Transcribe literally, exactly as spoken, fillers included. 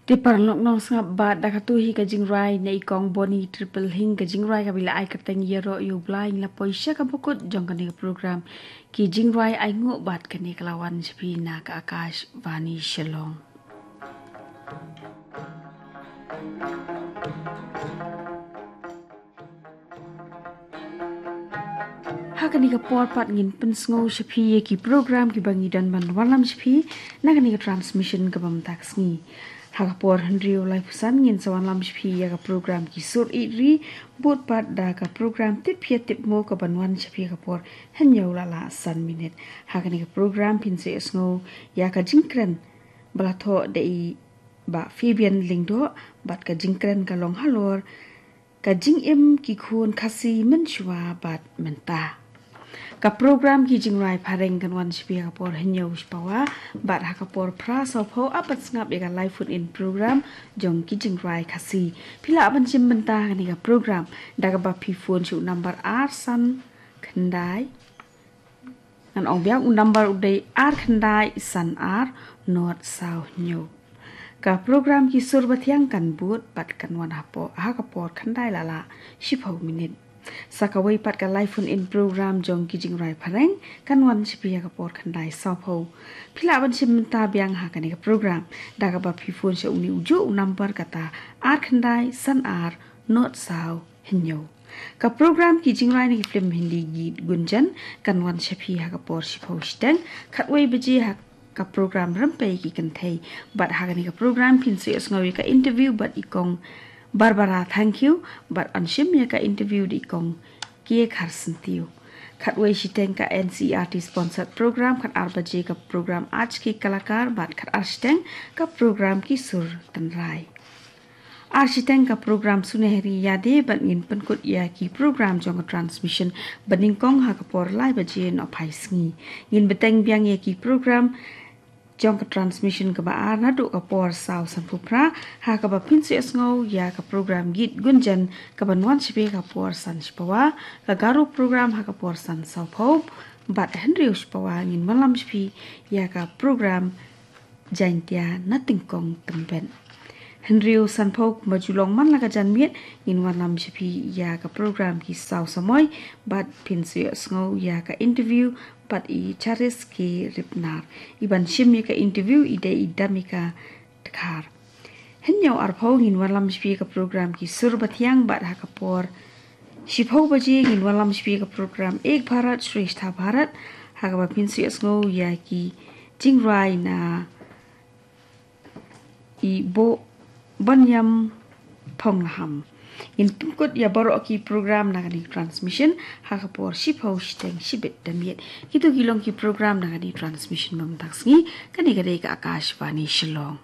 Te paralok nongsngap, bad da katu hi ka jingrwai na i Kong Boni Triple Hing, ka jingrwai kaba i la ai kyrteng Ïaroh ïa u Blai, ngi la poi sha kaba kut jong kane ka program Ki Jingrwai Ainguh, bad kane ka la wan sha phi na ka Akashvani Shillong. Ha kane ka por pat ngin pynsngew sha phi ïa ki program kiba ngi don ban wanlam sha phi na kane ka transmission kaba mynta ka sngi. Ha ka por hynriew laiphew san ngin sa wanlam sha phi ïa ka program Ki Sur Ïeit Ri, bud pat da ka program Tip Hiar Tip Mo kaban wan sha phi ha ka por hynñiew la lah san minit. Ha kane ka program phin sa ïohsngew ïa ka jingkren ba la thoh da i Bah Fabian Lyngdoh, bad ka jingkren ka long halor ka jingim ki khun Khasi mynshuwa bad mynta. Ka program Ki Jingrwai Phareng kan wan sha phi ha ka por hynñiew shipawa, bad ha ka por phra sawphew ap ban sngap ïa ka live phone in program jong Ki Jingrwai Khasi. Phi lah ban shim bynta ha kane ka program da kaba phi phone sha u number ar san khyndai, ngan ong biang, u number u dei ar khyndai san ar nod saw hynñiew. Ka program Ki Sur Bathiang kan bud bad kan wan ha por, ha ka por khyndai la lah shiphew minit. Sa kawei pat ka live phone in program jong Ki Jingrwai Phareng kan wan sha phi ha ka por khyndai sawphew. Phi lah ban shim bynta biang ha kane ka program da kaba phi phone sha uni ujuh u number, kata ar khyndai san ar nod saw hynñiew. Ka program Ki Jingrwai na ki film Hindi Geet Gunjan kan wan sha phi ha ka por shiphew shiteng, khatwei baje ha ka program Rympei Ki Kynthei. Bad ha kane ka program phin sa ïohsngew ïa ka interview bad i Kong Barbara Thangkhiew, bad yn shim ïa ka interview da i Kong Kiar Kharsyntiew. Khatwei shiteng ka N C E R T sponsored program, khatar baje ka program Aaj Ke Kalakar, bad khatar shiteng ka program Ki Sur Tynrai. Ar shiteng ka program Sunehri Yadein, bad ngin pynkut ïa ki program jong ka transmission ba nyngkong ha ka por lai baje nohphai sngi. Ngin bteng biang ïa ki program jong ka transmission kaba ar naduh ka por saw sanphew phra, ha kaba phin sa ïohsngew ïa ka program Geet Gunjan kaban wan sha phi ha ka por san shipawa, ka Garo program ha ka por san sawphew, bad hynriew shipawa ngin wanlam sha phi ïa ka program Jaiñtia na Tyngkong Tymbit. Hynriew sanphew kumba ju long man la ka janmiet, ngin wanlam sha phi ïa ka program Ki Saw Samoi, bad phin sa ïohsngew ïa ka interview bad i Charis K Ripnar. I ban shim ïa ka interview i dei i Damika Dkhar. Hynñiew arphew ngin wanlam sha phi ïa ka program Ki Sur Bathiang, bad ha ka por shiphew baje ngin wanlam sha phi ïa ka program Ek Bharat Shreshtha Bharat, ha kaba phin sa ïohsngew ïa ki jingrwai na i Boh Baniam Phonglaham. Ngin pynkut ïa baroh ki program na kane ka transmission ha ka por shiphew shiteng shibit da miet. Kito ki long ki program na kane ka transmission ba mynta ka sngi. Kane ka dei ka Akashvani Shillong.